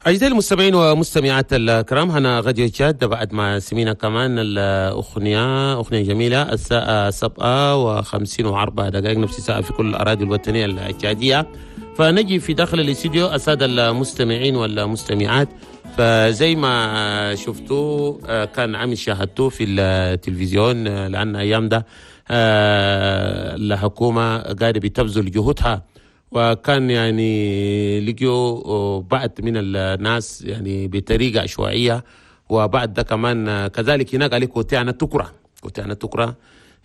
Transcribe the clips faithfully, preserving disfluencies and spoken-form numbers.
أعزائي المستمعين ومستمعات الكرام، هنا راديو تشاد. بعد ما سمينا كمان الأغنية، أغنية جميلة، الساعة سبعة وخمسين وأربع دقائق، نفس الساعة في كل الأراضي الوطنية التشادية. فنجي في داخل الاستديو السادة المستمعين والمستمعات، فزي ما شفتوا آه، كان عامل شاهدتوه في التلفزيون، آه، لأن أيام ده آه، الحكومة قاعدة بتبذل جهودها، وكان يعني لقيوا بعض من الناس يعني بطريقة عشوائية. وبعد ده كمان كذلك هناك عليك côté هنا تكرة، côté هنا تكرة،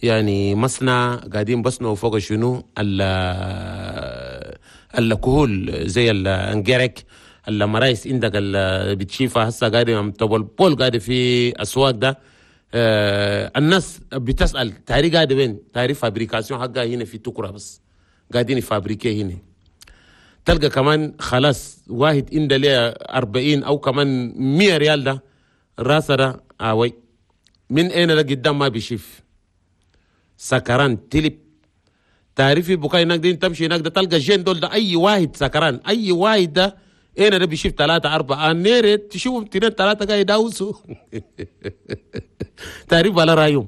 يعني مصنع قاعدين بصنعوا فوق شنو الكحول زي الانجرك المرايس عندك اللي بتشيفها هسه قاعد تبول بول قاعد في اسواق ده. آه الناس بتسال تاري قاعد وين؟ تاري fabrication حقها هنا في تكرة، بس قاعدين fabriquer هنا. تلقى كمان خلاص واحد عنده ليه أربعين او كمان مية ريال، ده راسه ده آوي من اين ده قدام ما بيشوف، سكران تلب. تعرفي بكاي هناك دي تمشي هناك ده تلقى jeunes دول ده، اي واحد سكران، اي واحد ده اين ده بيشوف ثلاثة أربعة نيرت تشوفهم اثنين ثلاثة قاعد يداوسوا، تعرف على رايهم.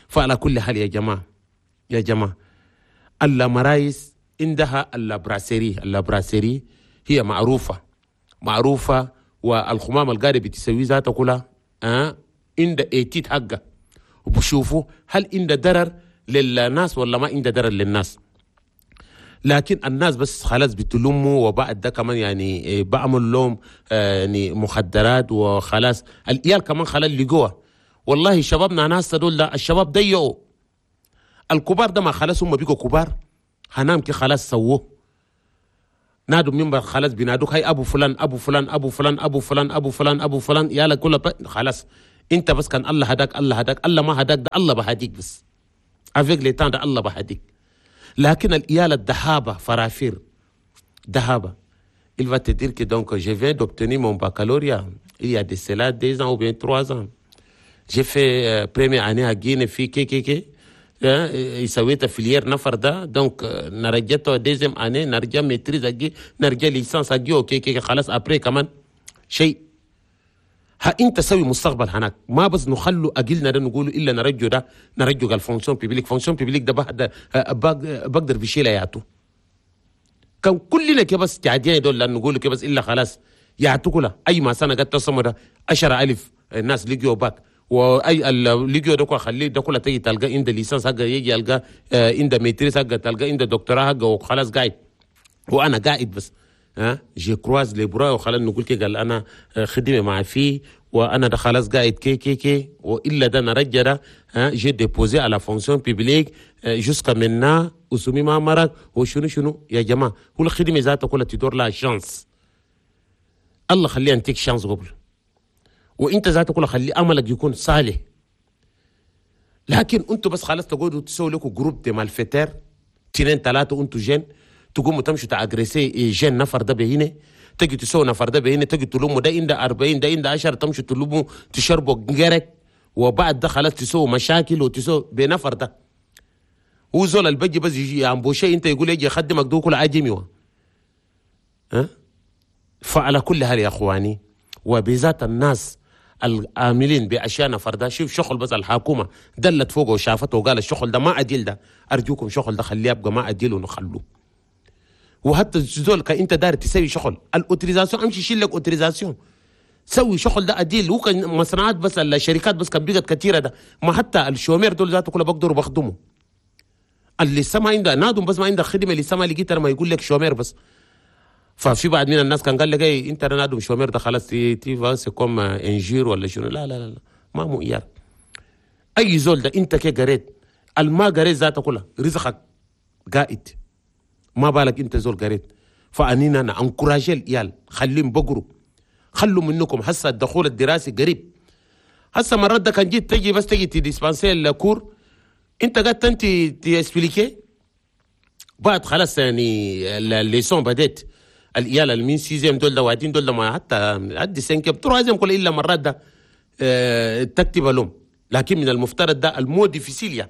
فعلى كل حال يا جماعة، يا جماعة، المرايس عندها ال brasserie، ال brasserie هي معروفة معروفة، والخمام القاعدة بتسوي ذاتها كلها أه عند étude حقه، وبشوفوا هل عند ضرر للناس ولا ما عند ضرر للناس. لكن الناس بس خلاص بتلموا، وبعد ده كمان يعني بعمل لهم يعني مخدرات وخلاص. العيال كمان خلاص لقوها. والله شبابنا ناس دول ده الشباب ضيعوا الكبار ده، ما خلاص هم بيجوا كبار هنام كي خلاص سووه نادوا منبر، خلاص بينادوك هاي ابو فلان ابو فلان ابو فلان ابو فلان ابو فلان ابو فلان، يلا كله خلاص. انت بس كان الله هداك الله هداك، الله ما هداك ده الله بهديك، بس avec le temps ده الله بهديك. لكن العيال الدهابة فرافير دهابة، il va te dire que donc je viens d'obtenir mon baccalauréat il y a de cela deux ans ou bien trois ans، j'ai fait euh, première année à Guinée في كي كي كي سويت filière نفر ده، donc نرجعته deuxième année، نرجع maîtrise اجي، نرجع licence اجي، okay كي خلاص. après كمان شيء ها انت سوي مستقبل هناك. ما بس نخلوا اجلنا ده نقولوا الا نرجو ده نرجو ال fonction publique، fonction publique ده بعد بقدر بشيلها يعطو كان كلنا كده بس قاعدين دول لان نقول كده بس الا خلاص يعطوا كلها. اي ما سنه قد تصمد ده عشرة ألف الناس لقيوا باك، واي لقيوا ده خليه ده كله تيجي تلقى عند licence حقه، يجي يلقى عند maîtrise حقه، تلقى عند دكتوراه حقه وخلاص قاعد وانا قاعد بس ها je croise les bras وخلاص. نقول كي قال انا خدمه مع فيه وانا ده خلاص قاعد كي كي كي والا ده نرجع ده ها j'ai déposé à la fonction publique jusqu'à maintenant وسمي ما مرق وشنو شنو. يا جماعه، هو الخدمه ذاتها كلها تدور لها chance. الله خليها انتيك chance قبل، وانت ذاتك كلها خلي املك يكون صالح. لكن انتوا بس خلاص تقعدوا تسووا لكم groupe de malfaiteurs اثنين ثلاثه، انتوا jeunes تقوموا تمشوا ت agresser jeune نفر ده بهنا، تجي تسووا نفر ده بهنا، تجي تلوموا ده عنده أربعين ده عنده عشرة، تمشوا تلوموا تشربوا جرك، وبعد ده خلاص تسووا مشاكل وتسووا بنفر ده. هو زول البجي بس يجي embaucher انت يقول يجي يخدمك ده كل عجمي ها. فعلى كل حال يا اخواني، وبذات الناس العاملين باشياء نفر ده، شوف شغل بس الحكومه دلت فوقه وشافته وقال الشغل ده ما عديل ده، ارجوكم شغل ده خليه يبقى ما عديل ونخلوه. وحتى زول كان انت داير تسوي شغل ال autorisation، امشي شيل لك autorisation سوي شغل ده عديل. هو كان مصنعات بس الشركات بس كان بقت كثيره ده، ما حتى ال chômeurs دول ذاته كله بقدروا بخدموا. اللي لسه عنده نادم بس ما عنده خدمه، اللي لسه لقيت ما يقول لك chômeur بس. ففي بعض من الناس كان قال لك ايه انت نادم chômeur ده خلاص tu tu c'est comme injure ولا شنو. لا لا لا، لا. ما معيار. اي زول ده انت كي قريت الما قريت ذاته كلها رزقك قائد، ما بالك انت زول قريت. فانينا ن encourager العيال خليهم بقروا، خلوا منكم. هسه الدخول الدراسي قريب. هسه مرات ده كان جيت تجي بس تجي ت dispenser ال cours، انت قاعد انت ت expliquer بعد خلاص يعني ال leçon بديت. العيال المين sixième دول ده وادين دول ده ما حتى عدي cinquième troisième كل الا مرات ده اه تكتب لهم. لكن من المفترض ده ال mot difficile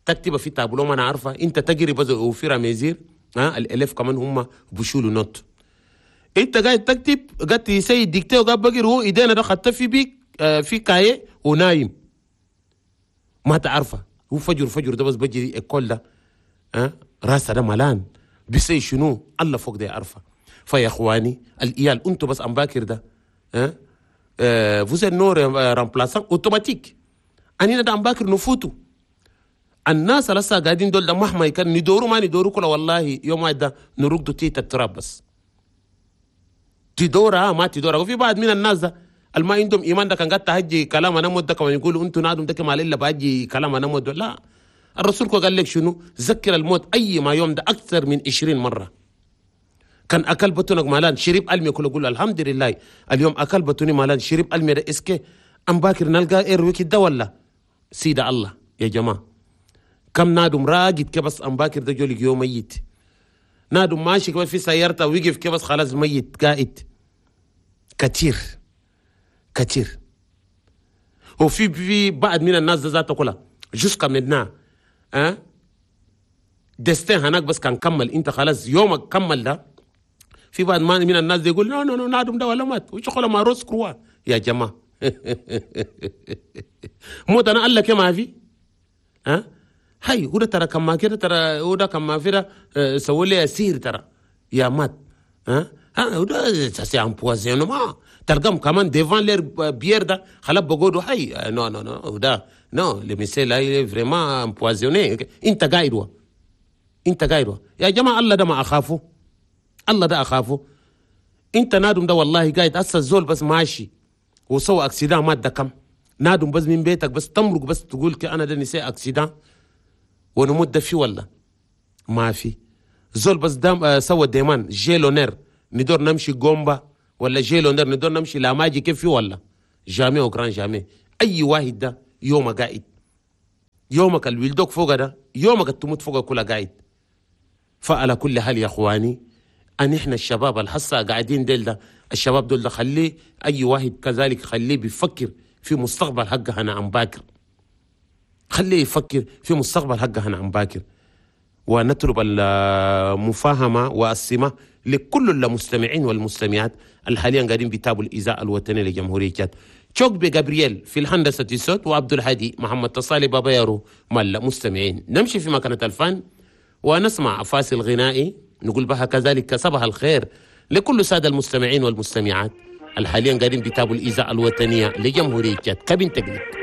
تكتب في تابلو ما انا عارفه انت تجري بس au fur et à mesure. ها ال élèves كمان هم بشولوا note. انت قاعد تكتب قاعد تسوي dictée وقاعد بقر هو ايدينا ده خدت في bic آه في cahier ونايم ما تعرفه. هو فجر فجر ده بس بجي école ده أه؟ راسه ده ملان بيسي شنو الله فوق ده يعرفه. فيا اخواني الإيال انتوا بس ام باكر ده أه؟ أه vous êtes nos remplaçants automatiques. انينا ده ام باكر نفوتوا الناس لسه قاعدين دول ده مهما كان ندوروا ما ندوروا كله والله يوم واحد ده نرقدوا تيت التراب بس تدورها ما تدورها. وفي بعض من الناس ده الما عندهم ايمان ده كان قاعد تهجي كلام انا مود ده كمان يقولوا انتوا نادم ده كما الا باجي كلام انا مود. لا الرسول قال لك شنو؟ ذكر الموت اي ما يوم ده اكثر من عشرين مره. كان اكل بطنك مالان شرب المي كله قول الحمد لله اليوم اكل بطني مالان شرب المي ده est-ce que ام باكر نلقى اير ده ولا سيد الله يا جماعه. كم نادم راقد كبس ام باكر ده جولك يوم ميت. نادم ماشي كبس في سيارته ويقف كبس خلاص ميت قائد. كثير كثير. وفي في بعض من الناس ذاته كلها jusqu'à maintenant أه؟ destin هناك بس كان كمل انت خلاص يومك كمل ده. في بعض من الناس يقول non non non نادم ده ولا مات وشغله ما روس كروا يا جماعه. موت انا قال لك ما في ها أه؟ هاي هو ده ترى كم ما كده ترى هو ده كم ما في ده سووا لي سير ترى يا مات ها ها هو ده c'est empoisonnement تلقاهم كمان devant leur bière ده خلاص بقولوا هاي non non non ده non le monsieur là il est vraiment empoisonné. انت قاعد و انت قاعد يا جماعه الله ده ما اخافه الله ده اخافه. انت نادم ده والله قاعد هسه الزول بس ماشي وسوى accident مات ده كم نادم بس من بيتك بس تمرق بس تقول انا ده نسي accident ونموت ده في ولا ما في زول بس دام آه سوى demande j'ai l'honneur ندور نمشي جومبا ولا j'ai l'honneur ندور نمشي لاماجي كيف في ولا jamais au grand jamais. اي واحد ده يوم قاعد يومك اللي ولدوك فوق ده يومك تموت فوق كلها قاعد. فعلى كل حال يا اخواني ان احنا الشباب الحصه قاعدين ديل ده الشباب دول ده خليه اي واحد كذلك خليه بيفكر في مستقبل حقه انا عم باكر. خليه يفكر في مستقبل حقه انا عم باكر. ونطلب المفاهمة والسمة لكل المستمعين والمستمعات اللي حاليا قاعدين بيتابعوا الإذاعة الوطنية لجمهورية تشاد. تشوك بجابرييل في الهندسة الصوت وعبد الهادي محمد تصالي بابا يارو مال المستمعين. نمشي في مكانة الفن ونسمع فاصل غنائي نقول بها كذلك صباح الخير لكل سادة المستمعين والمستمعات اللي حاليا قاعدين بيتابعوا الإذاعة الوطنية لجمهورية تشاد. كابين تقلق.